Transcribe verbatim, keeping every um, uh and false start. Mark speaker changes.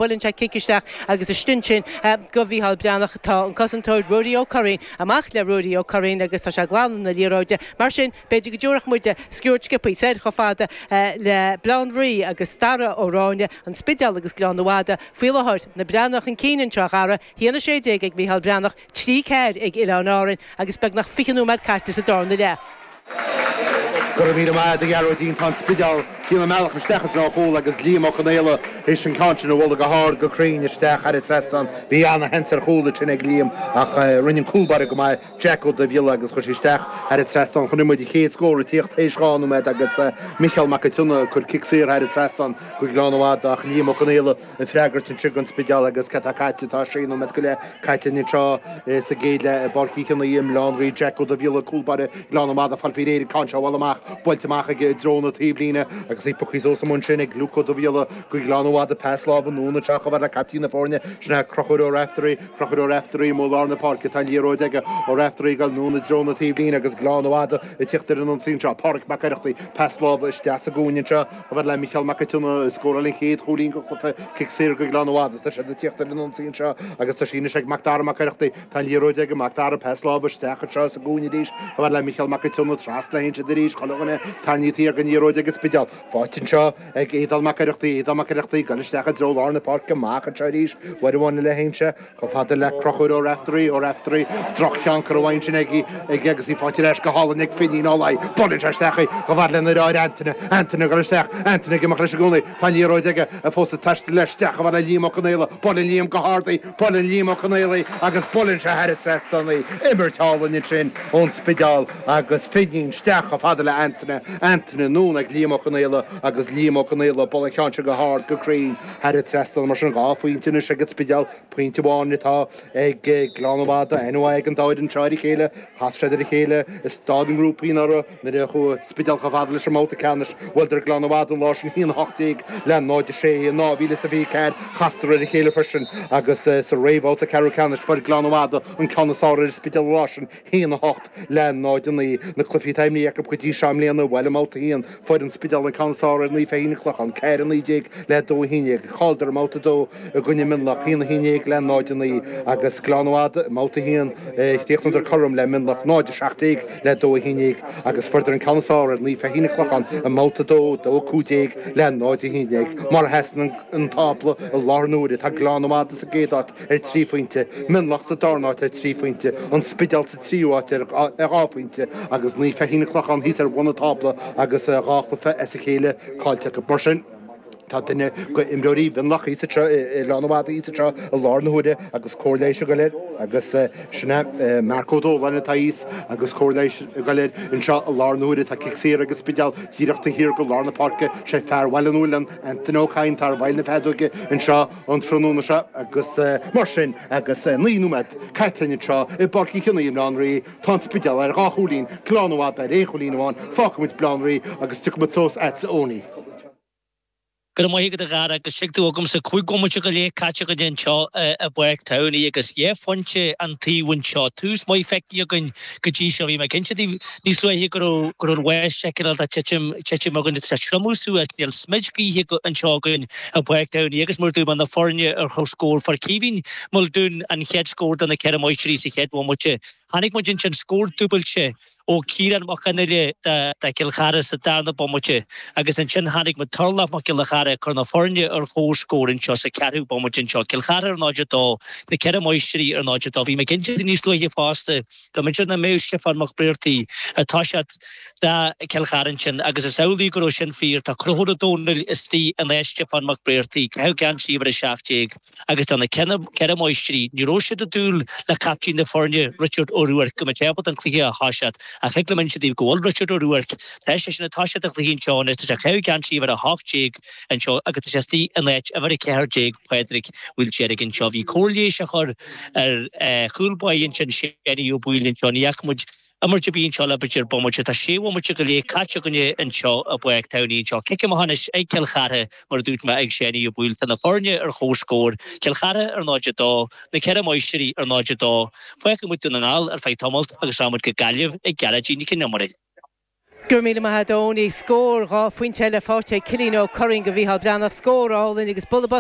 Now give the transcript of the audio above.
Speaker 1: Buaileann sé cic isteach agus istigh ansin go Mhícheál Breathnach tá an cosantóir Ruairí Ó Curraoin amach le Ruairí Ó Curraoin agus tá sé ag glanadh na liathróide. Mar sin, b'fhéidir go dtabharfadh muid sciuird sciobtha soir chomh fada le Baile Átha an Rí agus Dara Ó Ráinne, an Spidéal agus Gleann Fhada. Faoi láthair, na Breathnaigh chun cinn anseo a Dhara, a haon a sé déag ag Mícheál Breathnach, trí ceathair ag Oileáin Árann agus beagnach fiche nóiméad caite sa darna leath.
Speaker 2: Go raibh míle maith agat a Ghearóidín, tá an Spidéal trína mbealach isteach i dtreo an chúil agus Liam Ó Conaola théis an ceann sin a bhualadh go hard go cruinn isteach thar an trasnán. Bhí ana-sheans ar chúl ansin ag Liam ach rinne an cúl báire go maith, Jack Ó Duibhghiolla agus chuir sé isteach thar an trasnán. Chonaic muid an chéad scór ag tíocht théis dhá nóiméad agus Micheál Mac an tSionnaigh ag cur cic saor thar an trasnán go Gleann Fhada ach Liam Ó Conaola ag freagairt ansin don Spidéal agus cad tá caite, tá sé nóiméad go leith caite anseo sa gcéad leath i bPáirc Uí Chionnaith i mBaile Átha an Rí, Jack Ó Duibhghiolla, cúl báire Ghleann Fhada ag fáil faoi réir an ceann seo a bhualadh amach, buailte amach aige i dtreo na taobhlíne agus í pioctha suas amuigh ansin ag Luke Ó Duibhghiolla go Gleann Fhada, pas láimhe anonn anseo chomh fada le caiptín na foirne, sin é Conchúr Ó Raiftearaí, Conchúr Ó Raiftearaí amuigh i lár na páirce, tá an liathróid aige, Ó Raiftearaí ag dul anonn i dtreo na taobhlíne agus Gleann Fhada ag tíocht ar an ionsaí anseo, Pádraig Mac Oireachtaigh, pas láimhe isteach sa gcúinne anseo chomh fada le Micheál Mac an tSionnaigh a scóráil an chéad chúilín den chluiche, cic saor go Gleann Fhada. Tá siad ag tíocht ar an ionsaí anseo agus tá sí anois ag Mac Dara Mac Oireachtaigh. Tá an liathróid ag Mac Dara, pas láimhe isteach anseo sa gcúinne arís chomh fada le Micheál Mac an tSionnaigh, trasna a théann siad arís, chuile dhuine tarraingthe thiar den liathróid ag an Spidéal. Faighte anseo ag Aodán Mac Oireachtaigh, Aodán Mac Oireachtaigh ag dul isteach i dtreo lár na páirce, amach anseo arís, uair amháin eile a théann sé chomh fada le Conchúr Ó Raiftearaí, Ó Raiftearaí, droch-cheann curtha uaidh ansin aige agus í faighte ar ais go hálainn ag Finín Ó Laoi. Buaileann sé isteach í chomh fada lena dheartháir Antaine, Antaine ag dul isteach, Antaine ag imeacht leis i gcónaí. Tá an liathróid aige fós ag taisteal leis isteach chomh fada le Liam Ó Conaola. Buaileann Liam go hard í, buaileann Liam Ó Conaola í agus buaileann sé thar an trasnán í. Imirt álainn ansin ón Spidéal agus Finín isteach chomh fada le Antaine, Antaine anonn ag Liam Ó Conaola agus Liam Ó Conaola ag bualadh an cheann seo go hard go cruinn thar an trasnán. Mar sin dhá phointe anois ag an Spidéal, pointe amháin atá ag Gleann Fhada. Aithne mhaith ag an dá fhoireann seo ar a chéile. Chas siad ar a chéile i staid na ngrúpaí anuraidh nuair a chuaigh an Spidéal chomh fada leis an mbabhta ceannais. Bhuaileadar Gleann Fhada an lá sin a haon a hocht déag le náid a sé in dhá mhíle is a fiche ceathair. Chastar ar a chéile freisin agus sa réamhbhabhta ceathrú ceannais fuair Gleann Fhada an ceann is fearr ar an Spidéal an lá sin, a haon a hocht le náid a naoi. Na cluichí atá imeartha acu go dtí seo i mbliana, bhuel i mbabhta a haon fuair an Spidéal an ceann is fearr ar Naomh Feichín an Clochán, ceathair a naoi déag le dó a haon déag. Chailleadar i mbabhta a dó i gcoinne Mionlach, a haon a haon déag le náid a naoi agus Gleann Fhada i mbabhta a haon chríochnaíodar cothrom le Mionlach, náid a seacht déag le dó a haon déag agus fuaireadar an ceann is fearr ar Naomh Feichín an Chlocháin i mbabhta a dó, dó a cúig déag le náid a haon déag. Mar a sheasann an tábla i láthair na huaire, tá Gleann Fhada sa gcéad áit ar trí phointe, Mionlach sa darna háit ar trí phointe, An Spidéal sa tríú háit ar dhá phointe agus Naomh Feichín an Chlocháin thíos ar bhun an tábla agus dhá chluiche as a chéile caillte acu. Mar sin, tá duine de imreoirí Mhionlach thíos anseo i Gleann Fhada thíos anseo i láthair na huaire agus cóir leighis ag goil air agus sin é Marc Ó Dóláin atá thíos agus cóir leighis ag goil air anseo i láthair na huaire. Tá cic saor ag an Spidéal díreach taobh thiar de lár na páirce. Sé fear Bhaile an Fhualann, Antaine Ó Cadhain, atá ar bhfeighil na feadóige anseo an tráthnóna seo agus mar sin agus naoi nóiméad caite anseo i bPáirc Uí Chionnaith i mBaile Átha an Rí, tá an Spidéal ar dhá chúilín, Gleann Fhada ar aon chúilín amháin. Fágfaidh muid Baile Átha an Rí agus tiocfaidh muid suas agatsa Owenie.
Speaker 3: Go raibh maith agat a Dhara agus tuig tú agamsa cúig bhomaite go leith caite againn anseo i bPáirc Towney agus dhá phointe an taobh anseo. Tús maith feicthe againn go dtí seo. Bhí mé cinnte daoibh níos luaithe go raibh go raibh an bháisteach cineál de titim titim againn. Tá sé triomú suas. Níl smid gaoithe anseo againn i bPáirc Towney agus mar a dúirt mé na foirne ar chomhscór. Fuair Caoimhín Muldoon an chéad scór do na Ceithre Máistrí sa chéad bhomaite. Chonaic muid ansin scór dúbailte ó Ciarán Mac Fhionnghaile do Chill Chartha sa darna bomaite agus ansin chonaic muid Turlach Mac Giolla Chearra ag cur na foirne ar chomhscór anseo sa ceathrú bomaite anseo. Cill Chartha ar náid a dó, na Ceithre Máistrí ar náid a dó. Bhí mé cinnte níos luaithe fosta go mb'fhéidir nach mbeadh Stiofán Mac Briartaigh ag toiseacht do Chill Chartha ansin agus is amhlaidh go raibh sin fíor. Tá Conchúr Ó Domhnaill istigh in áit Stiofán Mac Briartaigh, caitheamh geansaí uimhir a seacht déag. Agus do na Ceithre Máistrí, ní raibh siad ag dúil le captaen na foirne, Richard Ó Ruairc, go mbeadh sé ábalta an cluiche a thoiseacht. Ach thig liom inse daoibh go bhfuil Richard Ó Ruairc, tá seisean ag toiseacht an chluiche anseo anois, tá sé ag caitheamh geansaí uimhir a hocht déag anseo agus tá sé istigh in áit uimhir a ceathair déag, Pádraig Mhaoildeirg anseo. Bhí cóir leighis á chur ar chúl báire ansin, Séanie Ó Baoill anseo. Ní fhaca muid imirt ar bith anseo le b'fhéidir bomaite. Tá sé bhomaite go leith caite againne anseo i bPáirc Towney anseo. Cic amach anois ag Cill Chartha, mar a dúirt mé, ag Séanie Ó Baoill. Tá na foirne ar chomhscór, Cill Chartha ar náid a dó, na Ceithre Máistrí ar náid a dó. Fágfaidh muid Dún na nGall ar feadh tamaill agus rachaidh muid go Gaillimh ag Gearóidín Nic an Iomaire.
Speaker 1: Go raibh míle maith agat Owenie. Scór dhá phointe eile faighte ag Cillian Ó Curraoin do Mhícheál Breathnach. Scór álainn agus bualadh bos